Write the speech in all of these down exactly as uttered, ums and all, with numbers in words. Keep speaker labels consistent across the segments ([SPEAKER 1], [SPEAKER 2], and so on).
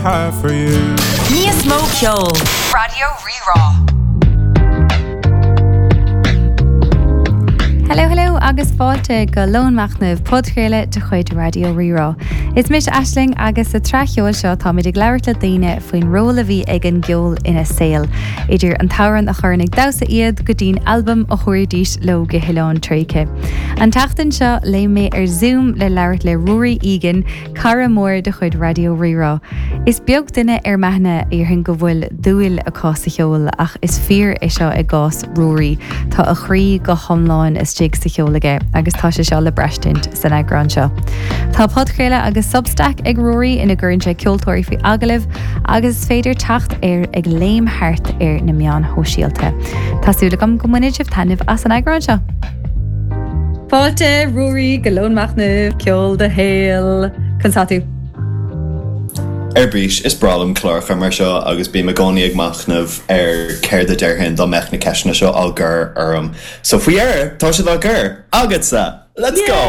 [SPEAKER 1] have for you.
[SPEAKER 2] Níos mó ceoil.
[SPEAKER 3] Raidió Rí-Rá.
[SPEAKER 4] Hello hello agus fáilte go Lón Machnaimh podchraoladh de chuid Raidió Rí-Rá. Is mise Aisling agus sa tsraith cheoil seo táimid ag labhairt le daoine faoin ról a bhí ag an gceol ina saol. Idir an t-amhrán a chuireann ag damhsa iad go dtí'n albam a thabharfaidís leo go hoileán tréigthe. An tseachtain seo léim mé ar Zoom le labhairt le Ruairí Egan, cara mór de chuid Raidió Rí-Rá. Is beag duine ar m'aithne a déarfainn go bhfuil dúil acu sa cheol ach is fíor é seo i gcás Ruairí. Tá a chroí go hiomlán istigh sa cheol aige agus tá sé seo le braistint san eagrán seo. Tá podchraoladh agus Substack ag Ruairí ina gcuireann sé ceoltóirí faoi agallamh agus is féidir teacht air ag léim thart ar na meáin shóisialta. Tá súil agam go mbainfidh sibh taitneamh as an eagrán seo. Fáilte Ruairí go Lón Machnaimh ceol do shaol Conas tá tú.
[SPEAKER 5] Ar bís is breá liom cláracha mar seo agus bím i gcónaí ag machnamh ar céard a déarfainn dá mbeadh na ceisteanna seo á gcur orm. So faoi dheireadh tá siad á gcur agatsa! Let's go!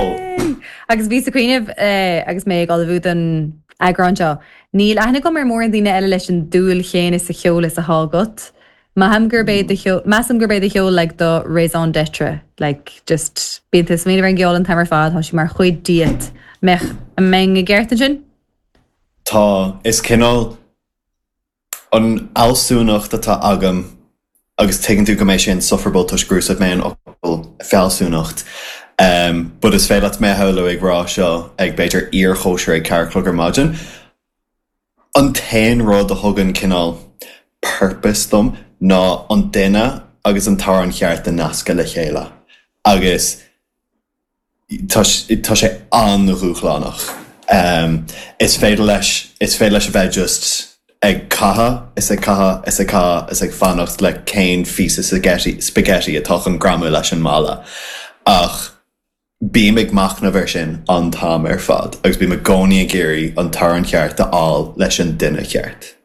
[SPEAKER 4] Agus bhíos ag cuimhneamh eh, agus mé ag ullmhú don eagrán seo. Níl aithne agam ar mórán daoine eile leis an dúil chéanna sa cheol is atá agat. Maithim gurb é do cheol measaim gurb é do cheol like do raison d'être like just bíonn tú ag smaoineamh ar an gceol an t-am ar fad, tá sé mar chuid díot. Mbeadh an mbeinn i gceart ansin?
[SPEAKER 5] Tá is cineál an fhealsúnacht atá agam agus tuigeann tú go mbeidh sé insufferable toisc gur úsáid mé an fhocal fealsúnacht. Um, but is féidir leat mé a shamhlú ag rá seo ag b'fhéidir iarchóisir ag ceathair a chlog ar maidin. An t-aon rud a thugann cineál purpose dom ná an duine agus an t-amhrán cheart a nascadh le chéile. Agus tá tá sé an-dhúshlánach. Um, is féidir leis is féidir leis a bheith just ag caitheamh is ag caitheamh is ag caitheamh is ag fanacht le cén píosa spaghetti, spaghetti atá chun greamú leis an mballa. Ach bím ag machnamh air sin an t-am ar fad, agus bím i gcónaí ag iarraidh an t-amhrán cheart a fháil leis an duine cheart.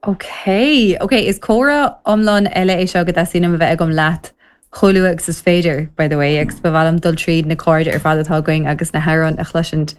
[SPEAKER 4] Ok, ok, is comhrá iomlán eile é seo go dteastaíonn uaim a bheith agam leat chomh luath agus is féidir, by the way, agus ba mhaith liom dul tríd na cairde ar fad atá againn agus na hamhráin a chloisint.